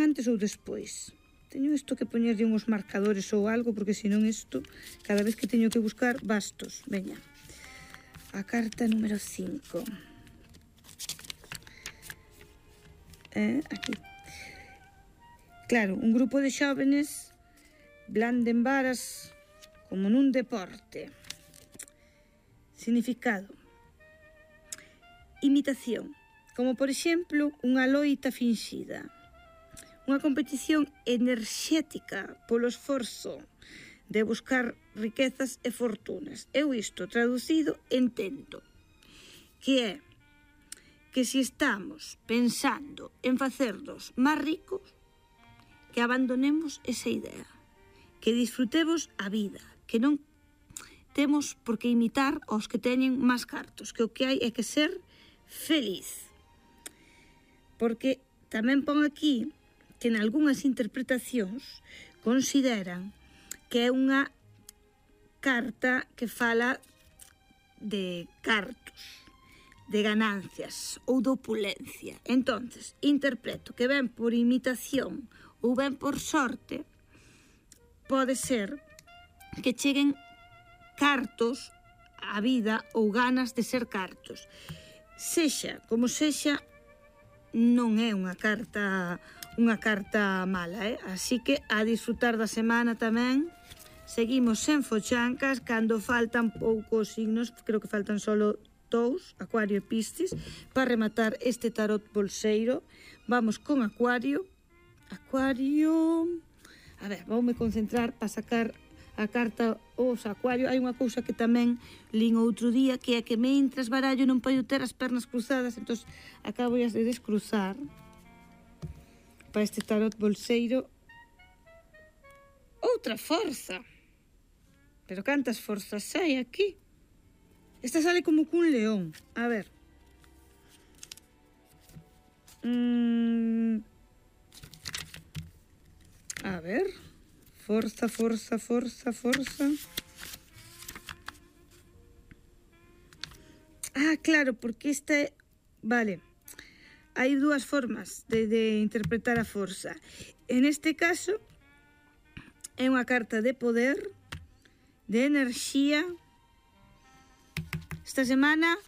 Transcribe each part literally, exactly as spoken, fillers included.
van antes ou despois. Teño isto que poñerlle uns marcadores ou algo, porque senón isto, cada vez que teño que buscar, bastos. Veña. A carta número cinco. Eh, aquí. Claro, un grupo de xóvenes blanden varas como nun deporte. Significado. Imitación. Como, por exemplo, unha loita finxida. Unha competición enerxética polo esforzo de buscar riquezas e fortunas. Eu isto, traducido, entendo que é que se estamos pensando en facernos máis ricos, que abandonemos esa idea, que disfrutemos a vida, que non temos por que imitar aos que teñen máis cartos, que o que hai é que ser feliz. Porque tamén pon aquí que en algunhas interpretacións consideran que é unha carta que fala de cartos, de ganancias ou de opulencia. Entonces, interpreto que ven por imitación ou ven por sorte, pode ser que cheguen cartos á vida ou ganas de ser cartos. Sexa como sexa, non é unha carta unha carta mala, eh? Así que a disfrutar da semana tamén. Seguimos sen fochancas, cando faltan poucos signos, creo que faltan solo dous, Acuario e Piscis, para rematar este tarot bolseiro. Vamos con Acuario. Acuario... A ver, voume concentrar para sacar a carta os Acuario. Hai unha cousa que tamén lín outro día, que é que mentras barallo non podo ter as pernas cruzadas, entón acabo de descruzar para este tarot bolseiro. Outra forza. Pero cantas forzas hai aquí? Esta sale como cun león. A ver. Mm. A ver. Forza, forza, forza, forza. Ah, claro, porque esta é... Vale. Hai dúas formas de, de interpretar a forza. En este caso, é unha carta de poder, de enerxía. Esta semana,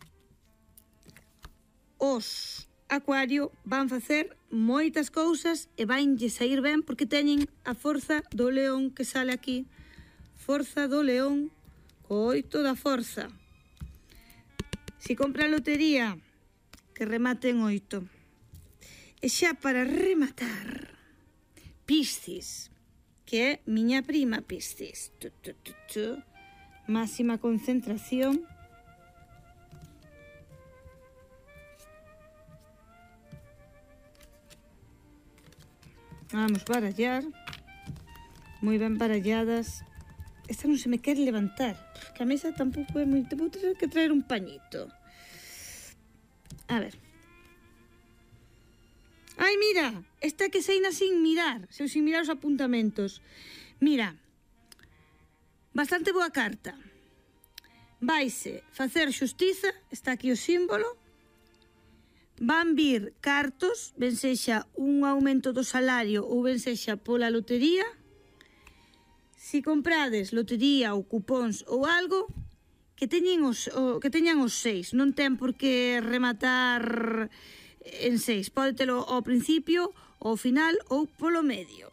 os Acuario van facer moitas cousas e vanlle sair ben porque teñen a forza do león que sale aquí. Forza do león, co oito da forza. Si compra a lotería, que remate en oito. E xa para rematar, Piscis, que é miña prima Piscis. Tu, tu, tu, tu. Máxima concentración. Vamos barallar. Moi ben baralladas. Esta non se me quere levantar, que a mesa tampouco é moi... Vou ter que traer un pañito. A ver. Ai, mira, esta que seina sin mirar, seu sin mirar os apuntamentos. Mira, bastante boa carta. Vaise facer xustiza, está aquí o símbolo. Van vir cartos, ben sexa un aumento do salario ou ben sexa pola lotería. Si comprades lotería ou cupóns ou algo, que teñen os, o, que teñan os seis. Non ten por que rematar en seis. Pode telo ao principio, ao final ou polo medio.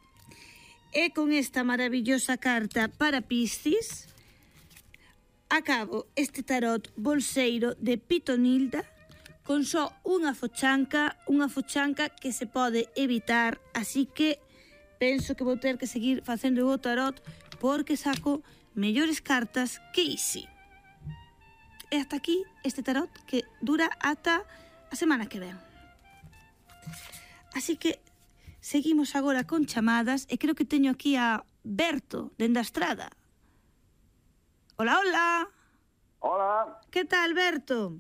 E con esta maravillosa carta para Piscis, acabo este tarot bolseiro de Pitonilda con só unha fochanca, unha fochanca que se pode evitar, así que penso que vou ter que seguir facendo o tarot porque saco mellores cartas que isi. E hasta aquí este tarot que dura ata a semana que ven. Así que seguimos agora con chamadas e creo que teño aquí a Berto, dende a Estrada. Hola, hola. Hola. Que tal, Berto?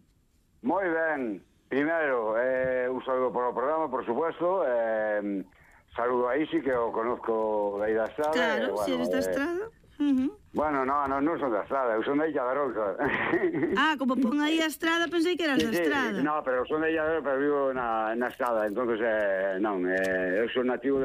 Moi ben. Primeiro, eh, un saludo para o programa, por supuesto. Eh, saludo a Isi, que o conozco da da Estrada. Claro, eh, bueno, si eres da Estrada. Eh... Uh -huh. Bueno, no, no, non son da Estrada, eu son da Illa da Arousa. Ah, como pon aí a Estrada, pensei que eras sí, da Estrada. Sí, no, pero son da Illa da Arousa, pero vivo na, na Estrada, entonces, eh, non, eh, eu son nativo de